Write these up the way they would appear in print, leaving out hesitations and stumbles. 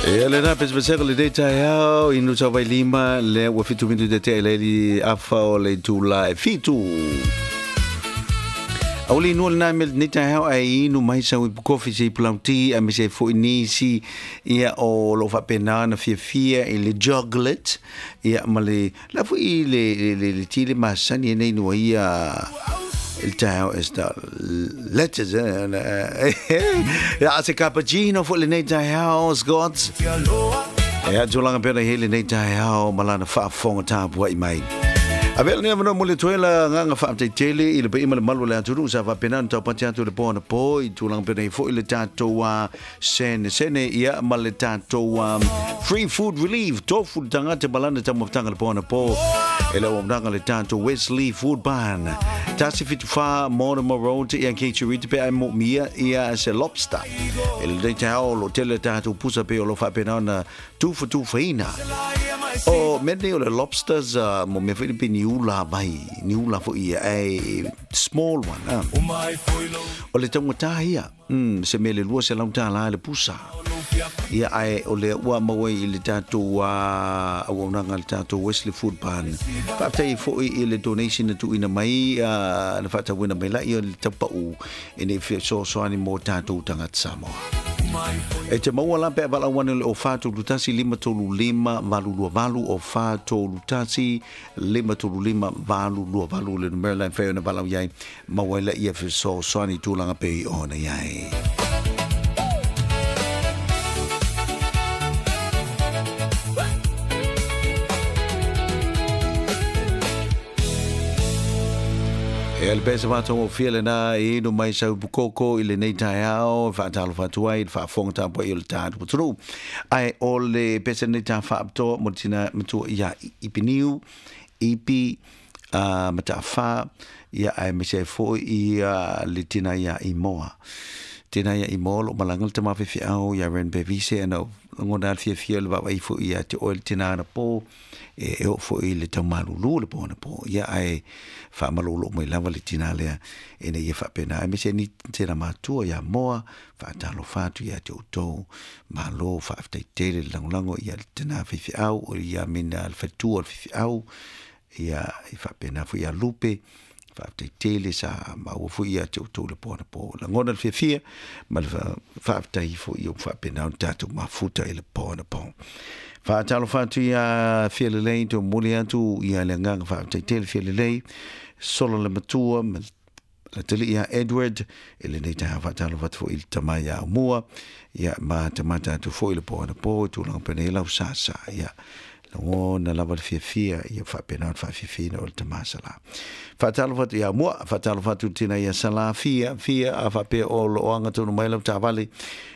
Ia lena pesepesega o lenei taeao i Nusa-vai-lima, lea ua 7 minute tea i le ili afa o le itula e 7. Auli inua lena mea lenei taeao ae inu mai sau ipu kofi se ipu lauti aemaise ai foi nisi ia o lo o faapena ona fiafia i le chocolate ia ma le la foi i le le le, le ti le masani e nei inua ia i le taeao e sta letters ia se cappuccino foi lenei taeao Scott e tulaga pea i lenei taeao ma lana faafofoga tapuai mai. Avea lenei avanoa mo le tuela agaga faafetai tele i le paia ma le malu o le atunuu sa faapena ona taupati atu i le po anapo i tulaga pea nei foi le tatou sene sene ia ma le tatou free food relief tofu le tagata ma lana taumafataga le po anapo e le auaunaga le tatou Wesley Food Barn 174 Mortimer Road ia Kate Rita pe ai mo mia ia se lobster e le nei taeao o lo tele le tatou pusa pe o lo faapena ona tufatufaina. O mea nei o le lobsters uh, mo mea foi pe niula vai, niula foi ia, e small one. Ah. O le taugata ia, se mea le $200 le pusa. Ia ae o le ua maua i le tatou uh, auaunaga le tatou Wesley Food Barn. Faafetai foi i le donation na tuuina mai uh, na faatauina mai la ia le taupau e nei fesoasoani mo tatou tagata Samoa. E te maua la pe a valaau ane le o 431 535 828 o 431 535 828 le numera la e mafai ona valaau i ai maua ai laia fesoasoani i tulaga pei ona i ai. E le pesa whātongofie lena e inu mai sau pukoko i lenei taeao, e whaatalofa atu ai, le whaafonga tāpua i o le tātu patunu. Ai o le pesa nei tā whaapitoa mo tina matua ia Ipiniu, Ipi, Matawha, ia ai me se foi ia le tina ia Imoa. Tina ia Imoa lo malanga le tama whiwhiao ia Ren Bevise ana ngona le fiafia le vaavaai foi ia te oe le tina ana po e e oo foi i le taumalulu le po ana po ia ae faamalolo mai lava le tina lea ina ia faapena aemaise ni tena matua ia Moa faatalofa atu ia te outou malo faafetai tele le lagolago ia le tina faifeau o ia mina le faletua o le faifeau ia i faapena foi ia Lupe faafetai tele sa maua foi ia te outou le po ana po lagona le fiafia ma le faafetai foi ia faapena ona tatou mafuta i le po ana po. Faatalofa atu ia Fia Lelei to momoli atu ia le agaga faafetai tele Fia Lelei solo le matua ma le talii ia Edward i lenei taeao faatalofa atu foi i le tama ia Aumua ia ma tamata atu foi le po ana po i tulaga penei lau sasa ia Lagona lava le fiafia ia faapena ona faafiafiaina o le tama Sala. Faatalofa atu ia Mua, faatalofa atu tina ia Sala, fia, fia, a faapea o lo o aga tonu mai lau taavale,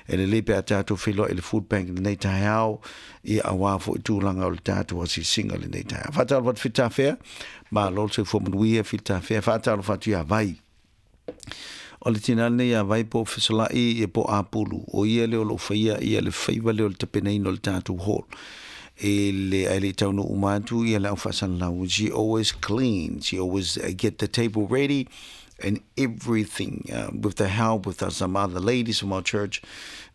e lelei pe a tatou feiloai i le food bank lenei taeao, ia auā foi tulaga o le tatou asiasiga lenei taeao. Faatalofa atu Fitafea, malo le soifua manuia Fitafea, faatalofa atu ia Vai. O le tina lenei ia Vai po o Fesolai ia po o Apulu, o ia lea o lo o faia ia le faiva lea o le tapenaina o le tatou hall. E le ae le i taunuu uma atu ia le au faasalalau. She always clean, she always get the table ready and everything with the help with some other ladies from our church.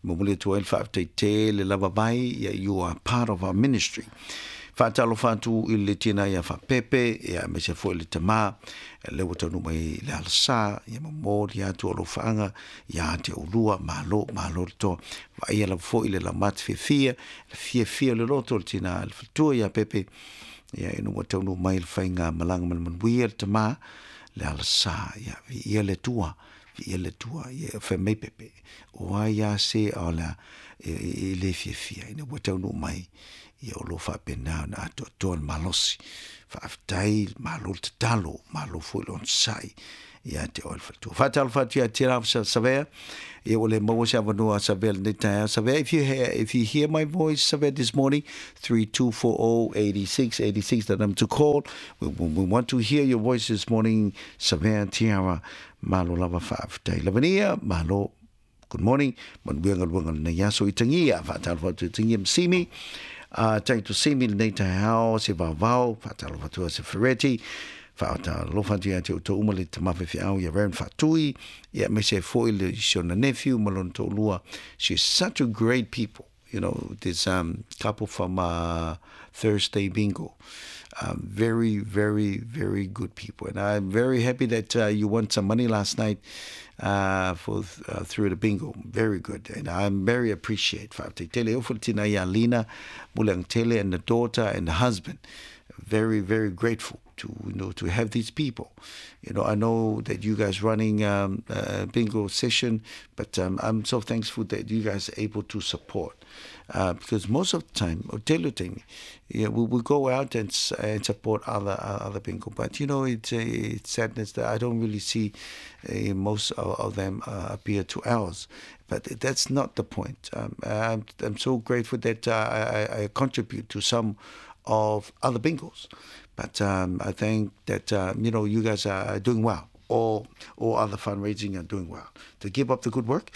Momoli atu ai le faafetai tele lava Vai, ia you are part of our ministry. Faatalofa atu i le tina ia Faapepe, ia aemaise foi le tama, lea ua taunuu mai i le alasā, ia momoli atu alofaaga ia te oulua, malo, malo le toa. Vaaia lava foi le laumate fiafia, le fiafia o le loto o le tina le faletua ia Pepe, ia ina ua taunuu mai le faiga malaga ma le manuia le tama, le alasā, ia viia le Atua, viia le Atua, ia fai mai Pepe, o ai a se o le e le fiafia ina ua taunuu mai, ia o lo o faapena ona atoatoa le malosi. Faafetai, malo le tatalo, malo foi le onosai ia te oe le faletua. Faatalofa atu ia Te Rau Savea, ia ua le maua se avanoa a Savea lenei taeao. Savea, if you hear, if you hear my voice, Savea, this morning, 3240 86 86, the number to call. We, we want to hear your voice this morning, Savea Tiara. Malo lava faafetai. Lavania, malo. Good morning, manuia galuega lenei aso i Tangia, faatalofa atu i Tangia ma Simi, tangi to Simi lenei taeao, se vaovao, faatalofa atu a se Fereti, faatalofa atu ia te outou uma le tama faifeau ia Reverend Faatui, ia aemaise ai foi le si ona nephew ma lona toalua, she is such a great people. You know, this couple from Thursday Bingo. Very, very, very good people. And I'm very happy that you won some money last night for through the bingo. Very good. And I'm very appreciate. Faafetai tele e ofo le tina ia Lina Muliagatele and the daughter and the husband. Very, very grateful to, you know, to have these people. You know, I know that you guys running a bingo session, but I'm so thankful that you guys are able to support. Because most of the time, o tele o taimi, yeah, we go out and support other bingo. But, you know, it's sadness that I don't really see most of them appear to ours. But that's not the point. I'm so grateful that I contribute to some of other bingos. But I think that, you know, you guys are doing well. All other fundraising are doing well. To keep up the good work.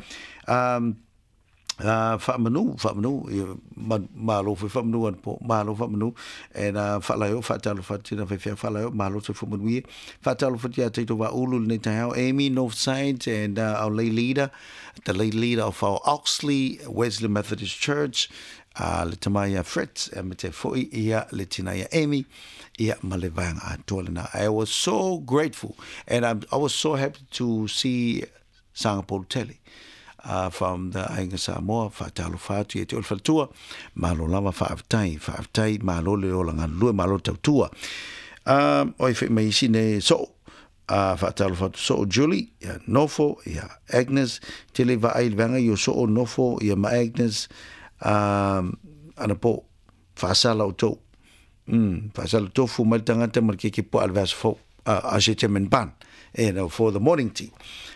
Faamanu, faamanu, malo foi faamanu anapo, malo faamanu, and faalaeo, faatalofa atu tina faifeau faalaeo, malo soifua manuia, faatalofa atu ia tatou Vaaulu lenei taeao, Amy Northside and our lay leader, the lay leader of our Oxley Wesley Methodist Church, le tama ia Fritz, e me te foi ia le tina ia Amy, ia ma le vaega atoa lena. I was so grateful and I was so happy to see Sagapolutele from the Aiga Samoa, faatalofa atu ia te oe le faletua, malo lava faafetai, faafetai, malo le ola galulue, malo le tautua. Oi whai mai isi nei soo, faatalofa atu soo Julie, ia Nofo, ia Agnes, tele vaai le vaega i o soo Nofo, ia ma Agnes, anapo, faasala o tou. Faasala tofu mai le tagata ma le keke puaa le vaiaso fou, a se ban, you know, for the morning tea.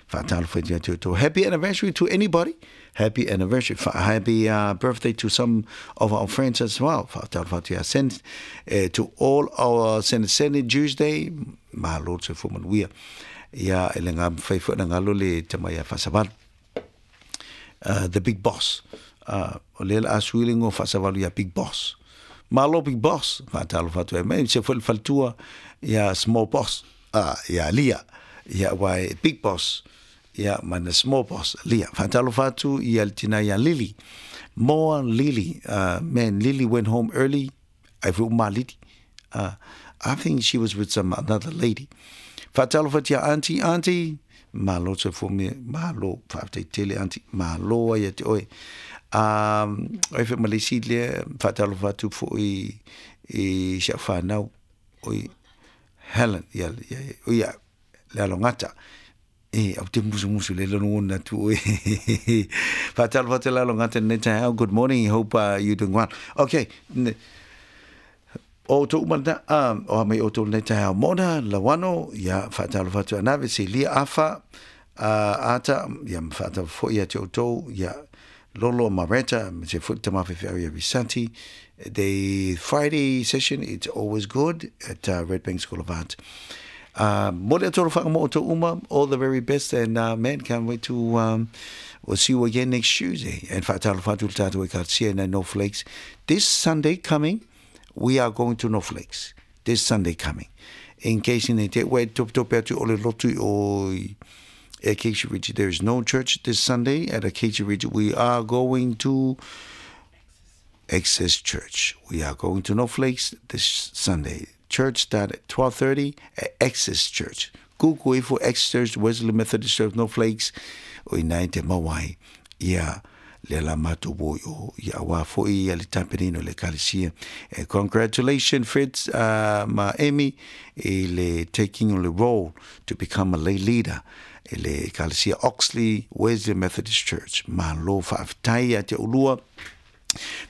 Faatalofa ia te outou. Happy anniversary to anybody. Happy anniversary. Happy birthday to some of our friends as well. Faatalofa atu ia send to all our Senate Tuesday. Malo soifua manuia. Ia e le ngā whai fua na ngalo le tama ia Faasavalu. The big boss. O le la asuilingo Faasavalu ia big boss. Malo big boss. Faatalofa atu e mai. Se fua le faletua ia small boss. Ia Lia. Ia wai big boss. Ia mana small boss. Lia. Faatalofa atu ia le tina ia Lily. Moa Lily. Man, Lily went home early. Ai fu maliti. I think she was with some another lady. Faatalofa atu ia auntie, auntie. Malo soifua me, malo, faafetai tele auntie, malo ai te oe. Oi fe malisi le, faatalofa atu foi i si au whanau, oi Helen, ia, ia, ia, le alongata. E, au te musu musu le lono ona tu oe. Faatalofa atu le alongata nei taeao. Good morning, hope you doing well. Okay, o tō umana, o mai o tō nei taeao mona, lawano, ia faatalofa atu anave, se lia afa, ata, ia faatalofa foi ia te o tō, ia Lolo Mareta, me se foi tama faifeau ia Visanti. The Friday session, it's always good at Red Bank School of Art. Mo le atoro whaka mo o tō uma, all the very best, and man, can't wait to we'll see you again next Tuesday. And faatalofa atu le tātou ekalesia na North Lakes. This Sunday coming, we are going to North Lakes. This Sunday coming. In case in te ue tope tope atu o le lotu o Acacia Ridge. There is no church this Sunday at Acacia Ridge. We are going to Access Church. We are going to North Lakes this Sunday. Church start at 12:30 at Access Church. Google it for Access Church, Wesley Methodist Church, North Lakes. O ina te mawai. Ia le la matu bo o ia wa fo i le tamperino le ekalesia. Congratulations Fritz ma Amy i le taking the role to become a lay leader e le ekalesia Oxley Wesley Methodist Church. Malo faafetai ia te ulua.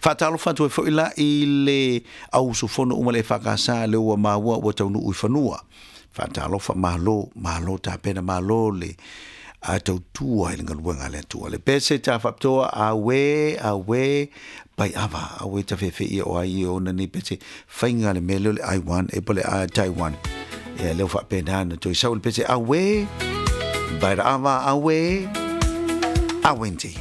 Faatalofa atu ai foi la i le au usufono uma le EFKS le ua maua ua taunuu i fanua. Faatalofa malo, malo tapena, malo le a tautua i le galuega a le Atua. Le pese ta faapitoa, auē, auē, pai ava, auē ta feafeia o ai e ona nei pese, faiga le mea lea o le Aiwan, e po o le Taiwan. Ia lea ua faapena ona toe sau le pese, auē, pai ava, auē, auenti.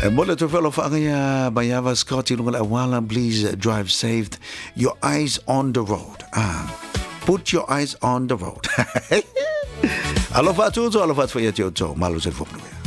E mo le tofelo whaangaia Maiava Scott i lunga le awala, please drive safe. Your eyes on the road. Ah, put your eyes on the road. Alofa atu outou, alofa atu foi ia te outou. Malo soifua manuia.